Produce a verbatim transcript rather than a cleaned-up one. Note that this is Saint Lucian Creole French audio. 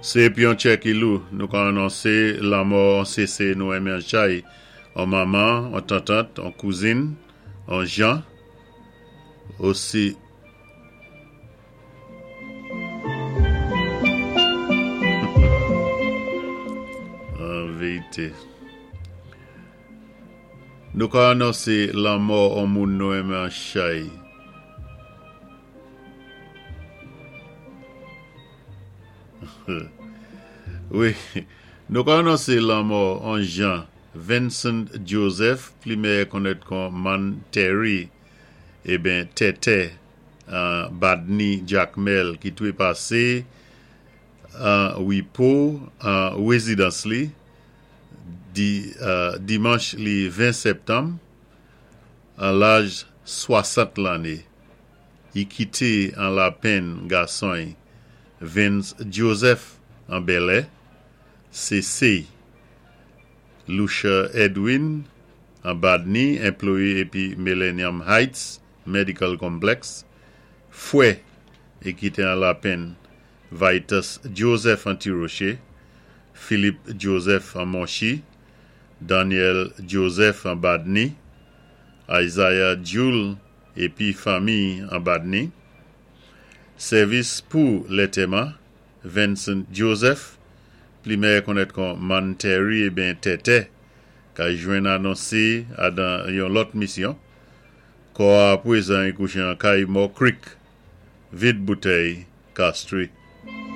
Sé pi an tchè ki lou, nou ka anonsé lanmò an sésé nou enmen an chay, an manman, an tantant, an kouzin, an Jean, osi an vérité. Nou ka anonsé lanmò an moun nou enmen an chay. Wi, nou ka anonsé lanmò an Jean Vincent Joseph, pli meyè konnèt kon Man Terry, eben Tètè, an Badni Jacmel ki toué pasé an Wipo, an wézidans li, di, euh, dimanch li ven septanm, an laj swasant lanné. I kité an lapenn gason Vince Joseph an Bèlè, C C Lucia Edwin an Badni, anplwayé épi Millennium Heights Medical Complex, fwè i kité an lapenn Vitus Joseph an Ti-Rocher, Philippe Joseph an Monchi, Daniel Joseph an Badni, Isaiah Jules épi fanmi an Badni. Sèvis pou lantèman Vincent Joseph, pli meyè konnèt kon Man Terry eben Tètè, ka jwenn anonsé adan yon lòt misyon. Kò a pwézan i kouché an kay Mò Creek, Vide Bouteille, Castries.